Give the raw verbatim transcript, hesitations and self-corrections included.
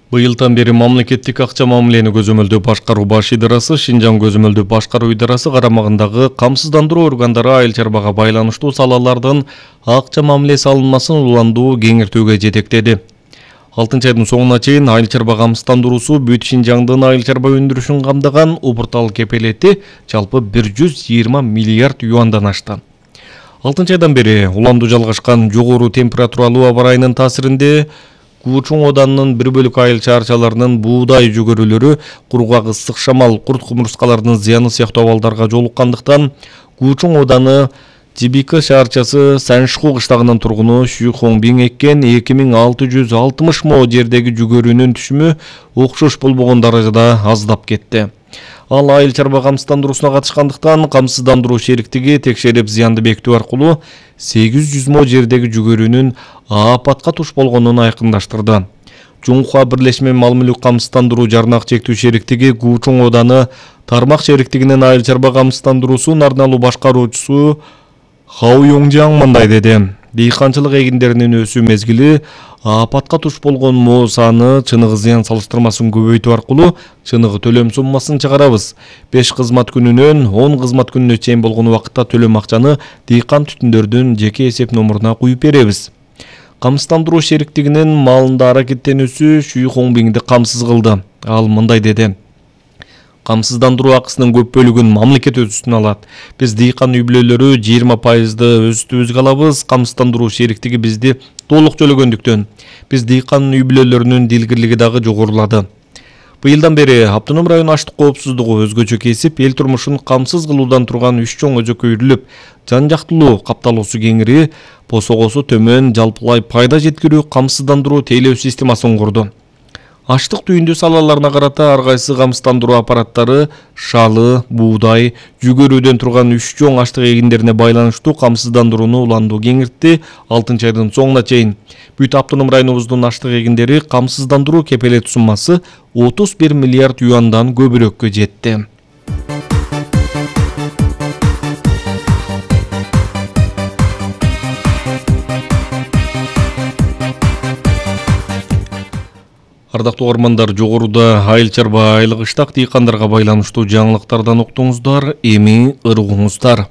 Быйылдан бери мамлекеттик акча мамилени көзөмөлдөө башкаруу баш идарасы Шинжаң көзөмөлдөө башкаруу идарасы карамагындагы камсыздандыруу органдары айыл чарбага байланыштуу салалардын акча мамилеси алынмасын уландуу кеңиртүүгө жетектеди. алтынчы айдын соңуна чейин айыл чарба камсыздандыруусу бүт Шинжаңдын айыл чарба өндүрүшүн камтыган убуртал кепелети жалпы бир жүз жыйырма миллиард юандан ашты. алтынчы айдан бери уландуу жалгашкан жогору температуралуу аба ырайынын таасиринде Куучуң оданынын бир бөлүк айыл чарчаларынын буудай жүгөрүлөрү кургак ысык шамал, курт кумурскалардын зыяны сыяктуу абалдарга жолуккандыктан Куучуң оданы Жибика шаарчасы Саншху кыштагынын тургуну Шүй Хоңбиң эккен эки миң алты жүз алтымыш мо жердеги жүгөрүүнүн түшүмү окшош болбогон даражада аздап кетти. Ал айыл чарба камсыздандыруусуна катышкандыктан камсыздандыруу шериктиги текшерип зыянды бекитүү аркылуу сегиз жүз мо жердеги жүгөрүүнүн апатка туш болгонун айкындаштырды. Жумха бирлешме мал-мүлүк камсыздандыруу жарнак чектүү шериктиги Куучуң оданы тармак шериктигинин айыл чарба камсыздандыруусун арналуу башкаруучусу Хау Йоңжаң мындай деди: Дыйканчылык эгиндеринин өсүү мезгили апатка туш болгон мо саны чыныгы зыян салыштырмасын көбөйтүү аркылуу чыныгы төлөм суммасын чыгарабыз. беш кызмат күнүнөн он кызмат күнүнө чейин болгон убакытта төлөм акчаны дыйкан түтүндөрдүн жеке эсеп номуруна куюп беребиз. Камсыздандыруу шериктигинин малында аракеттенүүсү Шүй Хоңбиңди камсыз кылды. Ал мындай деди: Камсыздандыруу акысынын көп бөлүгүн мамлекет өз үстүнө алат. Биз дыйкан үй бүлөлөрү жыйырма пайызды өз үстүбүзгө алабыз. Камсыздандыруу шериктиги бизди толук төлөгөндүктөн биз дыйкан үй бүлөлөрүнүн дилгирлиги дагы жогорулады. Быйылдан бери Автоном район аштык коопсуздугу өзгөчө кесип, эл турмушун камсыз кылуудан турган үч чоң өзөккө үйрүлүп, жан жактылуу капталуусу кеңири, посогосу төмөн, жалпылай пайда жеткирүү камсыздандыруу тейлөө системасын курду. Аштык түйүндүү салаларына карата ар кайсы камсыздандыруу аппараттары шалы, буудай, жүгөрүүдөн турган үч чоң аштык эгиндерине байланыштуу камсыздандырууну уландуу кеңиртти. алтынчы айдын соңуна чейин бүт Автоном районубуздун аштык эгиндери камсыздандыруу кепелет суммасы отуз бир миллиард юандан көбүрөккө жетти. Ардактуу угармандар, жогоруда айыл чарба айлык ыштак дыйкандарга байланыштуу жаңылыктардан уктуңуздар, эми ыргуңуздар.